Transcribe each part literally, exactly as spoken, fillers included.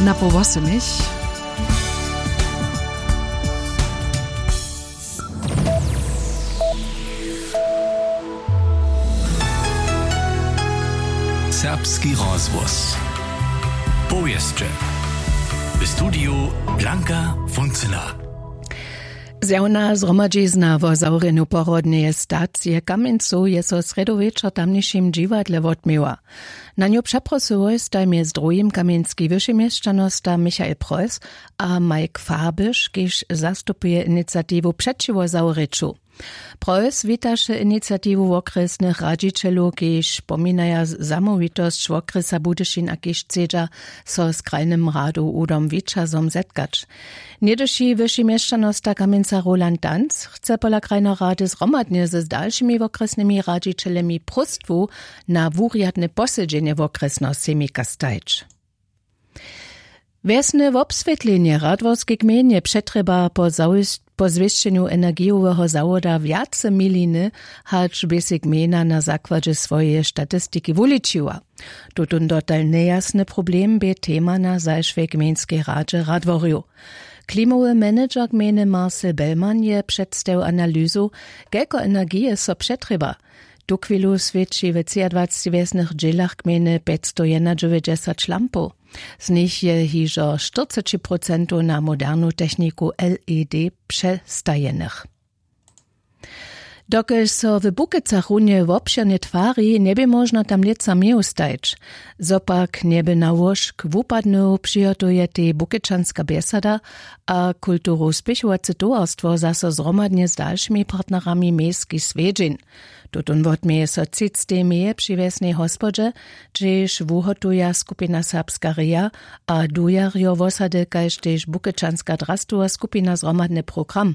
Na poł wosomich. Serbski rozhłos. Powěsće. W studiju Blanka Funcyna. Zjawna zhromadźizna wo zawrjenju porodneje stacije w Kamjencu je so srjedu wječor w tamnišim dźiwadle wotměła. Na nju přeprosyłoj staj mjez druhim kamjenski wyšeměšćanosta Michael Preuss a Mike Farbisch, kiž zastupuje iniciatiwu přećiwo zawrěću. Preuss witaše iniciatiwu wokrjesnych radźićelow, kiž pominaja zamołwitosć wokrjesa Budyšin a kiž chcedźa so z krajnym radow Udom Wićazom zetkać. Něhdyši wyši měšćanosta Kamjenca Roland Danz chce pola krajneho rady zhromadnje z dalšimi wokrjesnymi radźićelemi próstwu na wurjadne posedźenje wokrjesneho sejmika stajć. Wjesne wobswětlenje w radworskej gmejnje přetrjeba po zawěs- po zwěsćenju energijoweho zawoda wjace miliny, hač bě sej gmejna na zakładźe swojeje statistiki wuličiła. Tutón dotal njejasny problem bě tema na zašłej gmejnskej radźe radworjow. Klimowy manager gmejny Marcel Bellmann je předstajił analyzu, kelko energije so přetrjeba. Tuchwilu swěći w třiadwaceći wjesnych dźělach gmejny pjećstojednadźewjećdźesat lampow. Z nich je hižo štyrceći procentow na modernu techniku L E D přestajenych. Dokelž so w Bukecach runje wobšěrnje twari, njebě móžno tam lětsa měju stajić. Zo pak njebě na łóžk wupadnył, přihotujetej Bukečanska bjesada a kulturow spěchowace towarstwo zaso zhromadnje z dalšimi partnerami mejski swjedźeń. Tutón wotměje so třictej meje při wjesnej hospodźe, hdźež wuhotuja skupina Serbska reja a dujarjo wosady kaž tež Bukečanska drastowa skupina zhromadny program.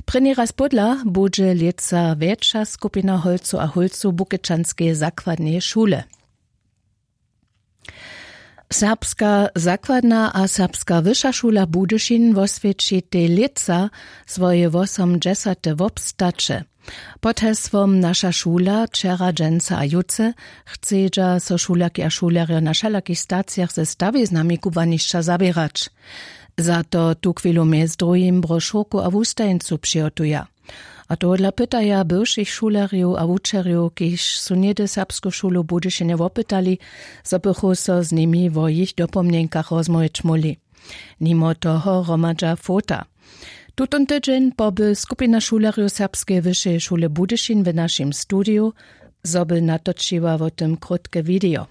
Prěni raz pódla budźe lětsa wjetša skupina holcow a hólcow Bukečanskeje zakładneje šule. Serbska zakładna a Serbska wyša šula Budyšin woswjećitej lětsa swoje wosomdźesate wobstaće. Pod hesłom Naša šula wčera, dźensa a jutře chcedźa so šulerki a šulerjo na wšelakich stacijach ze stawiznami kubłanišća zaběrać. Za to tuchwilu mjez druhim brošurku a wustajeńcu přihotuja. A tohodla pytaja bywšich šulerjow a wučerjow, kiž su něhdy Serbsku šulu w Budyšinje wopytali, zo bychu so z nimi wo jich dopomnjenkach rozmołwić móhli. Nimo toho hromadźa fota. Tutón tydźeń poby skupina šulerjow Serbskeje wyšeje šule Budyšin w našim studiju, zo by natočiła wo tym krótke widejo.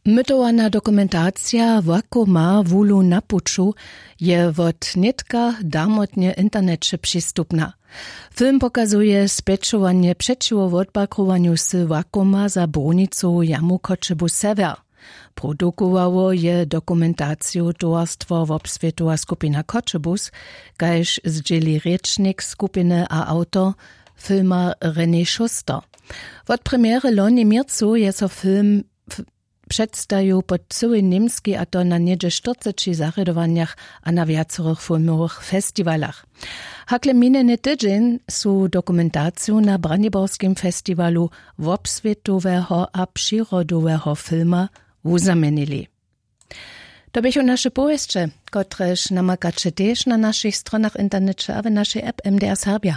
Mytowana dokumentacija Wakoma wulu na puću je wot nětka darmotnje w interneće přistupna. Film pokazuje spjećowanje přećiwo wotbakrowanju wsy Wakoma za brunicowu jamu Choćebuz Sewjer. Produkowało je dokumentaciju towarstwo Wobswětowa skupina Choćebuz, kaž zdźěli rěčnik skupiny a awtor filma René Schuster. Wot premjery loni w měrcu je so film předstajił po cyłej Němskej, a to na něhdźe štyrceći zarjadowanjach a na wjacorych filmowych festiwalach. Hakle minjeny tydźeń su dokumentaciju na Braniborskim festiwalu wobswětoweho a přirodoweho filma wuzamjenili. To běchu naše powěsće, kotrež namakaće tež na našich stronach w interneće a w našej app M D R Serbja.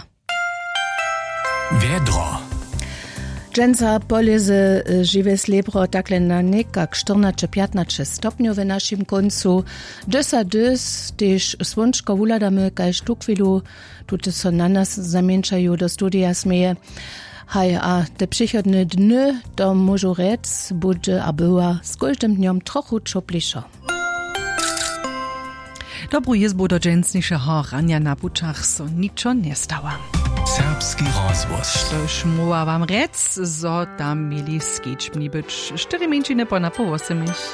Wjedro. Dźensa polězy, e, žiwe slěbro takle na někak štyrnaće pjatnaće stopnjow w našim kóncu. Dys a dys tež słónčko wuhladamy, kaž tuchwilu tute so na nas zamjeńšaju, do studija směje. Haj, a te přichodne dny, to móžu rjec, budźe a bywa z kóždym dnjom trochu ćoplišo. Dobru jězbu do dźensnišeho ranja. Na pućach so ničo njestała. Serbski rozhłos. Štož móhła wam rjec, zo tam měli skičbni być štyri mjeńšiny po napoł wosomich.